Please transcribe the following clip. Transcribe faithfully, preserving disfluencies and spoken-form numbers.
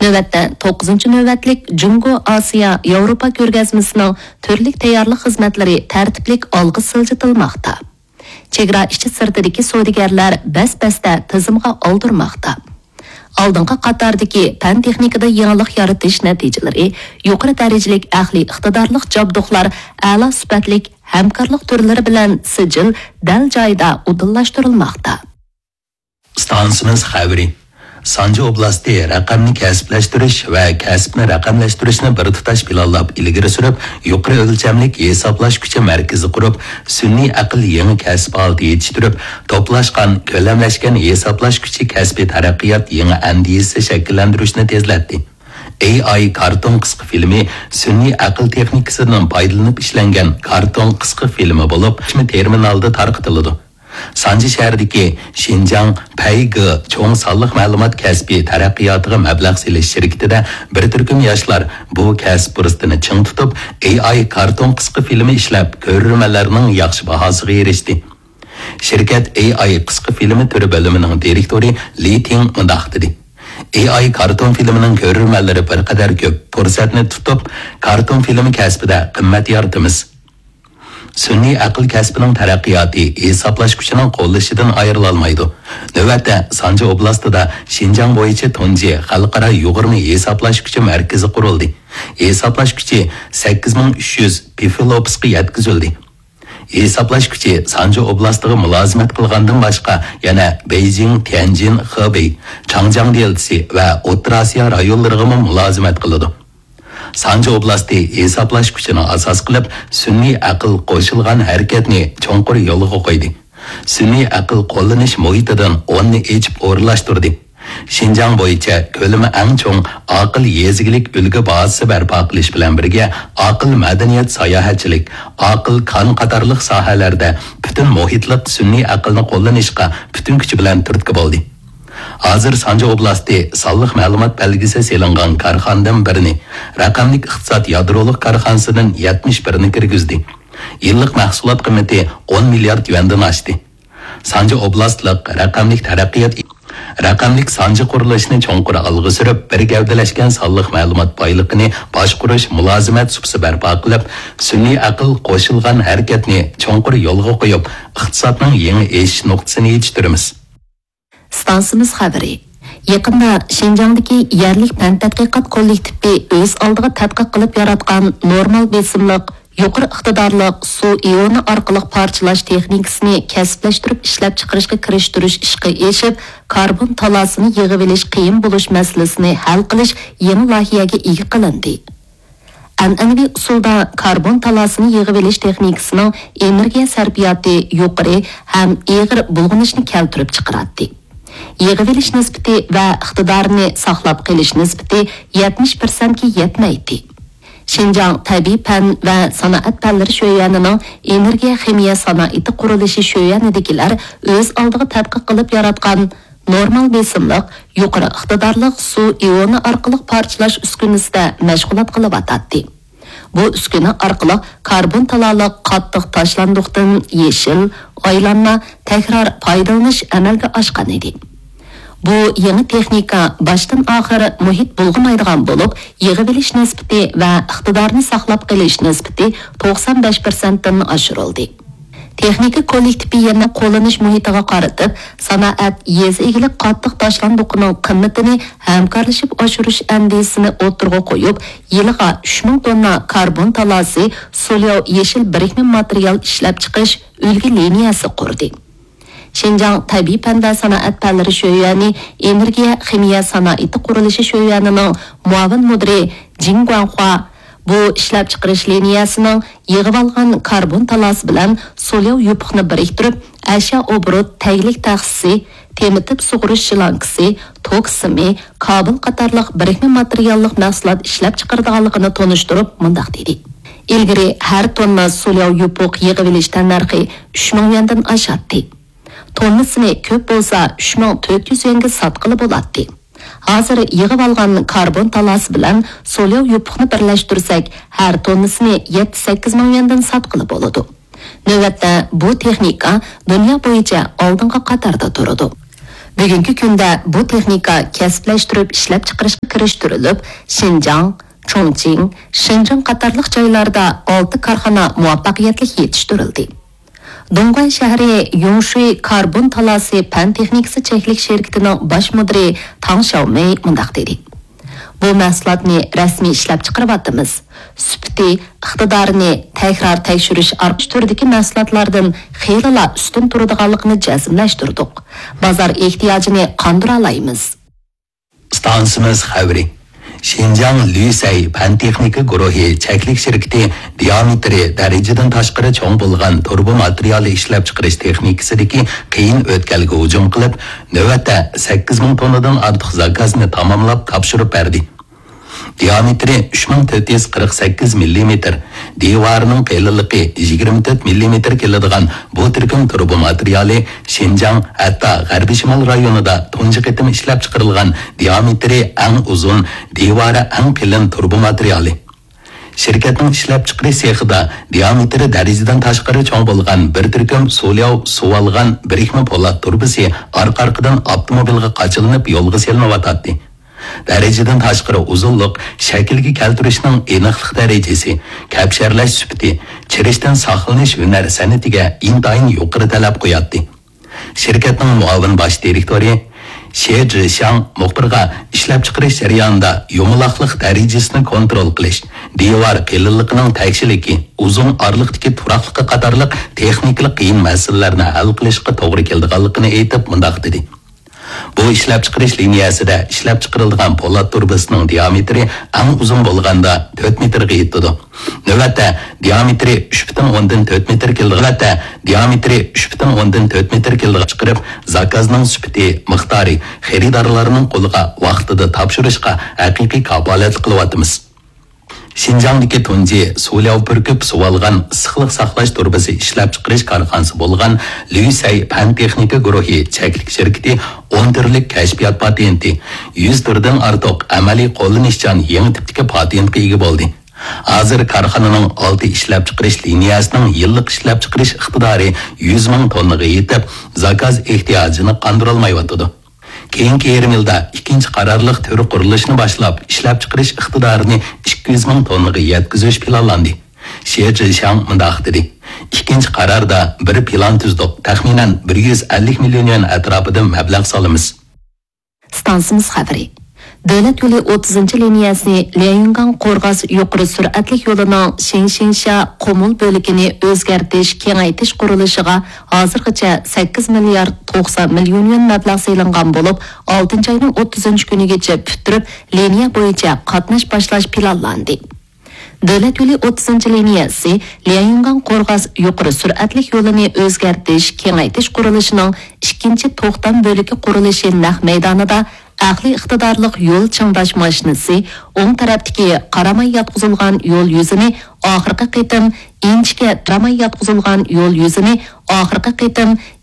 نۆۋەتتە توققۇزىنچى نۆۋەتلىك جۇڭگو ئاسىيا ياۋروپا كۆرگەزمىسىنىڭ تۈرلۈك تەييارلىق خىزمەتلىرى تەرتىپلىك ئالغا سىلجىتىلماقتا. چېگرا ئىچى سىرتىدىكى سودىگەرلەر بەس-بەستە تىزىمغا ئالدۇرماقتا. ئالدىنقى قاتاردىكى پەن-تېخنىكىدا يېڭىلىق يارىتىش نەتىجىلىرى، يۇقىرى دەرىجىلىك ئەقلىي ئىقتىدارلىق جابدۇقلار ئەلا سۈپەتلىك ھەمكارلىق تۈرلىرى بىلەن سىجىل دەل جايىدا ئۇدۇللاشتۇرۇلماقتا. ئىستانسىمىز خەۋىرى. سانجى ئوبلاستى رەقەمنى كەسىپلەشتۈرۈش ۋە كەسىپنى رەقەملەشتۈرۈشنى بىر تۇتاش پىلانلاپ ئىلگىرى سۈرۈپ، يۇقىرى ئۆلچەملىك ھېسابلاش كۈچى مەركىزى قۇرۇپ، سۈنئىي ئەقىل يېڭى كەسىپ ھالىتى يېتىشتۈرۈپ، توپلاشقان، كۆلەملەشكەن ھېسابلاش كۈچى كەسپىي تەرەققىيات يېڭى ئەندىزىسى شەكىللەندۈرۈشنى تېزلەتتى. ئېي ئاي كارتون قىسقا فىلىمى سۈنئىي ئەقىل تېخنىكىسىدىن پايدىلىنىپ ئىشلەنگەن كارتون قىسقا فىلىمى بولۇپ، تېرمىنالدا تارقىتىلىدۇ. سانجى شەھىرىدىكى شىنجاڭ پەيگې چوڭ سانلىق مەلۇمات كەسپى تەرەققىياتىغا مەبلەغ سېلىش شىركىتىدە بىر تۈركۈم ياشلار بۇ كەسىپ پۇرسىتىنى چىڭ تۇتۇپ، ئېي ئاي كارتون قىسقا فىلىمى ئىشلەپ، كۆرۈرمەنلەرنىڭ ياخشى باھاسىغا ئېرىشتى. شىركەت ئېي ئاي قىسقا فىلىمى تۈرى بۆلۈمىنىڭ دىرېكتورى لى تىڭ مۇنداق دېدى: «ئېي ئاي كارتون فىلىمىنىڭ كۆرۈرمەنلىرى بىر قەدەر كۆپ، پۇرسەتنى تۇتۇپ، كارتون فىلىمى كەسپىدە قىممەت يارىتىمىز.» سۈنئىي ئەقىل كەسپىنىڭ تەرەققىياتى ھېسابلاش كۈچىنىڭ قوللىشىدىن ئايرىلالمايدۇ. نۆۋەتتە، سانجى ئوبلاستىدا شىنجاڭ بويىچە تۇنجى خەلقئارا يۇغۇرما ھېسابلاش كۈچى مەركىزى قۇرۇلدى. ھېسابلاش كۈچى سەككىز مىڭ ئۈچ يۈز پىفىلوپسقا يەتكۈزۈلدى. ھېسابلاش كۈچى سانجى ئوبلاستىغا مۇلازىمەت قىلغاندىن باشقا، يەنە بېيجىڭ، تيەنجىن، خېبېي، چاڭجياڭ دېلتىسى ۋە ئوتتۇرا ئاسىيا رايونلىرىغىمۇ مۇلازىمەت قىلىدۇ. سانجى ئوبلاستى ھېسابلاش كۈچىنى ئاساس قىلىپ، سۈنئىي ئەقىل قوشۇلغان ھەرىكەتنى چوڭقۇر يولغا قويدى. سۈنئىي ئەقىل قوللىنىش مۇھىتىدىن ئوننى ئېچىپ ئورۇنلاشتۇردى. شىنجاڭ بويىچە كۆلىمى ئەڭ چوڭ ئاقىل يېزا ئىگىلىك ئۈلگە بازىسى بەرپا قىلىش بىلەن بىرگە، ئاقىل مەدەنىيەت، ساياھەتچىلىك، ئاقىل كان قاتارلىق ساھەلەردە پۈتۈن مۇھىتلىق سۈنئىي ئەقىلنى قوللىنىشقا پۈتۈن كۈچى بىلەن تۈرتكە بولدى. ھازىر سانجى ئوبلاستى سانلىق مەلۇمات بەلگىسى سېلىنغان كارخانىدىن بىرنى، رەقەملىك ئىقتىساد يادرولۇق كارخانىسىدىن يەتمىش بىرنى كىرگۈزدى. يىللىق مەھسۇلات قىممىتى ئون مىليارد يۈەندىن ئاشتى. سانجى ئوبلاستلىق رەقەملىك تەرەققىيات، رەقەملىك سانجى قۇرۇلۇشىنى چوڭقۇر ئالغا سۈرۈپ، بىر گەۋدىلەشكەن سانلىق مەلۇمات بايلىقىنى باشقۇرۇش مۇلازىمەت سۇپىسى بەرپا قىلىپ، سۈنئىي ئەقىل قوشۇلغان ھەرىكەتنى چوڭقۇر يولغا قويۇپ، ئىقتىسادنىڭ يېڭى ئېشىش نۇقتىسىنى يېتىشتۈرىمىز. ئىستانسىمىز خەۋىرى. يېقىندا شىنجاڭدىكى يەرلىك پەن تەتقىقات كوللېكتىپى ئۆز ئالدىغا تەتقىق قىلىپ ياراتقان نورمال بېسىملىق، يۇقىرى ئىقتىدارلىق سۇ ئىئونى ئارقىلىق پارچىلاش تېخنىكىسىنى كەسىپلەشتۈرۈپ ئىشلەپچىقىرىشقا كىرىشتۈرۈش ئىشقا ئېشىپ، كاربون تالاسىنى يىغىۋېلىش قىيىن بولۇش مەسىلىسىنى ھەل قىلىش يېڭى لايىھەگە ئىگە قىلىندى. ئەنئەنىۋى ئۇسۇلدا كاربون تالاسىنى يىغىۋېلىش تېخنىكىسىنىڭ ئېنېرگىيە سەرپىياتى يۇقىرى ھەم ئېغىر بۇلغىنىشنى كەلتۈرۈپ چىقىراتتى. يىغىۋېلىش نىسبىتى ۋە ئىقتىدارىنى ساقلاپ قېلىش نىسبىتى يەتمىش پىرسەنتكە يەتمەيتتى. شىنجاڭ تەبىئىي پەن ۋە سانائەت پەنلىرى شۆيۈەنىنىڭ ئېنېرگىيە خىمىيە سانائىتى قۇرۇلۇشى شۆيۈەنىدىكىلەر ئۆز ئالدىغا تەتقىق قىلىپ ياراتقان نورمال بېسىملىق، يۇقىرى ئىقتىدارلىق سۇ ئىئونى ئارقىلىق پارچىلاش ئۈسكۈنىسىدە مەشغۇلات قىلىۋاتاتتى. بۇ ئۈسكۈنە ئارقىلىق كاربون تالالىق قاتتىق تاشلاندۇقتىن يېشىل، ئايلانما، تەكرار پايدىلىنىش ئەمەلگە ئاشقان ئىدى. بۇ يېڭى تېخنىكا باشتىن ئاخىر مۇھىت بۇلغىمايدىغان بولۇپ، يىغىۋېلىش نىسبىتى ۋە ئىقتىدارنى ساقلاپ قېلىش نىسبىتى توقسان بەش پىرسەنتتىن ئاشۇرۇلدى. تېخنىكا كوللېكتىپى يەنە قوللىنىش مۇھىتىغا قارىتىپ، سانائەت، يېزا ئىگىلىك قاتتىق تاشلاندۇقىنىڭ قىممىتىنى ھەمكارلىشىپ ئاشۇرۇش ئەندىزىسىنى ئوتتۇرىغا قويۇپ، يىلىغا ئۈچ مىڭ توننا كاربون تالاسى سولياۋ يېشىل بىرىكمە ماتېرىيال ئىشلەپچىقىرىش ئۈلگە لىنىيەسى قۇردى. شىنجاڭ تەبىئىي پەن ۋە سانائەت پەنلىرى شۆيۈەنى ئېنېرگىيە خىمىيە سانائىتى قۇرۇلۇشى شۆيۈەنىنىڭ مۇئاۋىن مۇدىرى جىڭ گۇاڭخۇا بۇ ئىشلەپچىقىرىش لىنىيەسىنىڭ يىغىۋالغان كاربون تالاسى بىلەن سولياۋ يوپۇقنى بىرىكتۈرۈپ، ئەشيا ئوبوروت تەگلىك تەخسىسى، تېمىتىپ سۇغۇرۇش شلانكىسى، توك سىمى، كابېل قاتارلىق بىرىكمە ماتېرىياللىق مەھسۇلات ئىشلەپچىقىرىدىغانلىقىنى تونۇشتۇرۇپ، مۇنداق دېدى: «ئىلگىرى ھەر توننا سولياۋ يوپۇق يىغىۋېلىش تەننەرخى ئۈچ مىڭ يۈەندىن ئاشاتتى. توننىسىنى كۆپ بولسا ئۈچ مىڭ تۆت يۈز يۈەنگە ساتقىلى بولاتتى. ھازىر يىغىۋالغان كاربون تالاسى بىلەن سولياۋ يوپۇقنى بىرلەشتۈرسەك، ھەر توننىسىنى يەتتە سەككىز مىڭ يۈەندىن ساتقىلى بولىدۇ. نۆۋەتتە بۇ تېخنىكا دۇنيا بويىچە ئالدىنقى قاتاردا تۇرىدۇ.» بۈگۈنكى كۈندە بۇ تېخنىكا كەسىپلەشتۈرۈپ ئىشلەپچىقىرىشقا كىرىشتۈرۈلۈپ، شىنجاڭ، چۇڭچىڭ، شېنجېن قاتارلىق جايلاردا ئالتە كارخانا مۇۋەپپەقىيەتلىك يېتىشتۈرۈلدى. دۇڭغۇەن شەھىرى يۇڭشۇي كاربون تالاسى پەن تېخنىكىسى چەكلىك شىركىتىنىڭ باش مۇدىرى تاڭ شياۋمېي مۇنداق دېدى: بۇ مەھسۇلاتنى رەسمىي ئىشلەپچىقىرىۋاتىمىز. سۈپىتى، ئىقتىدارىنى تەكرار تەكشۈرۈش ئارقىلىق تۈردىكى مەھسۇلاتلاردىن خېلىلا ئۈستۈن تۇرىدىغانلىقىنى جەزملەشتۈردۇق. بازار ئېھتىياجىنى قاندۇرالايمىز. ئىستانسىمىز خەۋىرى. شىنجاڭ لۈسەي پەن تېخنىكا گۇرۇھى چەكلىك شىركىتى دىئامېتىرى دەرىجىدىن تاشقىرى چوڭ بولغان تۇرۇبا ماتېرىيالى ئىشلەپچىقىرىش تېخنىكىسىدىكى قىيىن ئۆتكەلگە ھۇجۇم قىلىپ، نۆۋەتتە سەككىز مىڭ توننىدىن ئارتۇق زاكازنى تاماملاپ تاپشۇرۇپ بەردى. دىئامېتىرى ئۈچ مىڭ تۆت يۈز قىرىق سەككىز مىللىمېتىر، دىۋارىنىڭ قېلىنلىقى يىگىرمە تۆت مىللىمېتىر كېلىدىغان بۇ تۈركۈم تۇرۇبا ماتېرىيالى شىنجاڭ، ھەتتا غەربىي شىمال رايونىدا تۇنجى قېتىم ئىشلەپچىقىرىلغان دىئامېتىرى ئەڭ ئۇزۇن، دىۋارى ئەڭ قېلىن تۇرۇبا ماتېرىيالى. شىركەتنىڭ ئىشلەپچىقىرىش سېخىدا دىئامېتىرى دەرىجىدىن تاشقىرى چوڭ بولغان بىر تۈركۈم سۇلياۋ سۇۋالغان بىرىكمە پولات تۇرۇبىسى ئارقا-ئارقىدىن ئاپتوموبىلغا قاچىلىنىپ يولغا سېلىنىۋاتاتتى. دەرىجىدىن تاشقىرى ئۇزۇنلۇق، شەكىلگە كەلتۈرۈشنىڭ ئېنىقلىق دەرىجىسى، كەپشەرلەش سۈپىتى، چىرىشتىن ساقلىنىش ھۈنەر سەنئىتىگە ئىنتايىن يۇقىرى تەلەپ قوياتتى. شىركەتنىڭ مۇئاۋىن باش دىرېكتورى شې جىشياڭ مۇخبىرغا ئىشلەپچىقىرىش جەريانىدا يۇمىلاقلىق دەرىجىسىنى كونترول قىلىش، دىۋار قېلىنلىقىنىڭ تەكشىلىكى، ئۇزۇن ئارىلىقتىكى تۇراقلىقى قاتارلىق تېخنىكىلىق قىيىن مەسىلىلەرنى ھەل قىلىشقا توغرا كېلىدىغانلىقىنى ئېيتىپ، مۇنداق دېدى. بۇ ئىشلەپچىقىرىش لىنىيەسىدە ئىشلەپچىقىرىلىدىغان پولات تۇرۇبىسىنىڭ دىئامېتىرى ئەڭ ئۇزۇن بولغاندا تۆت مېتىرغا يېتىدۇ. نۆۋەتتە دىئامېتىرى ئۈچ پۈتۈن ئوندىن تۆت مېتىر كېلىدىغان، نۆۋەتتە دىئامېتىرى ئۈچ پۈتۈن ئوندىن تۆت مېتىر كېلىدىغان چىقىرىپ، زاكازنىڭ سۈپىتى، مىقدارى، خېرىدارلارنىڭ قولىغا ۋاقتىدا تاپشۇرۇشقا ھەقىقىي كاپالەتلىك قىلىۋاتىمىز. شىنجاڭدىكى تۇنجى سۇلياۋ پۈركۈپ سۇۋالغان ئىسسىقلىق ساقلاش تۇرۇبىسى ئىشلەپچىقىرىش كارخانىسى بولغان لۈسەي پەن تېخنىكا گۇرۇھى چەكلىك شىركىتى ئون تۈرلۈك كەشپىيات پاتېنتى، يۈز تۈردىن ئارتۇق ئەمەلىي قوللىنىشچان يېڭى تىپتىكى پاتېنتقا ئىگە بولدى. ھازىر كارخانىنىڭ ئالتە ئىشلەپچىقىرىش لىنىيەسىنىڭ يىللىق ئىشلەپچىقىرىش ئىقتىدارى يۈز مىڭ توننىغا يېتىپ، زاكاز ئېھتىياجىنى قاندۇرالمايۋاتىدۇ. كېيىنكى يېرىم يىلدا ئىككىنچى قارارلىق تۈر قۇرۇلۇشىنى باشلاپ، ئىشلەپچىقىرىش ئىقتىدارىنى ئىككى يۈز مىڭ توننىغا يەتكۈزۈش پىلانلاندى. شې جىشياڭ مۇنداق دېدى: ئىككىنچى قاراردا بىر پىلان تۈزدۇق، تەخمىنەن بىر يۈز ئەللىك مىليون يۈەن ئەتراپىدا مەبلەغ سالىمىز. ئىستانسىمىز خەۋىرى. دۆلەت يولى ئوتتۇزىنچى لىنىيەسى ليەنيۈنگاڭ قورغاس يۇقىرى سۈرئەتلىك يولىنىڭ شېڭشېنشيا قۇمۇل بۆلىكىنى ئۆزگەرتىش، كېڭەيتىش قۇرۇلۇشىغا ھازىرغىچە سەككىز مىليارد توقسان مىليون يۈەن مەبلەغ سېلىنغان بولۇپ، ئالتىنچى ئاينىڭ ئوتتۇزىنچى كۈنىگىچە پۈتتۈرۈپ، لىنىيە بويىچە قاتناش باشلاش پىلانلاندى. دۆلەت يولى ئوتتۇزىنچى لىنىيەسى ليەنيۈنگاڭ قورغاس يۇقىرى سۈرئەتلىك يولىنى ئۆزگەرتىش، كېڭەيتىش قۇرۇلۇشىنىڭ ئىككىنچى توختام بۆلىكى قۇرۇلۇشى نەق مەيدانىدا ئەقلىي ئىقتىدارلىق يول چىڭداش ماشىنىسى، ئوڭ تەرەپتىكى قاراماي ياتقۇزۇلغان يول يۈزىنى ئاخىرقى قېتىم ئىنچىكە قاراماي ياتقۇزۇلغان يول يۈزىنى ئاخىرقى قېتىم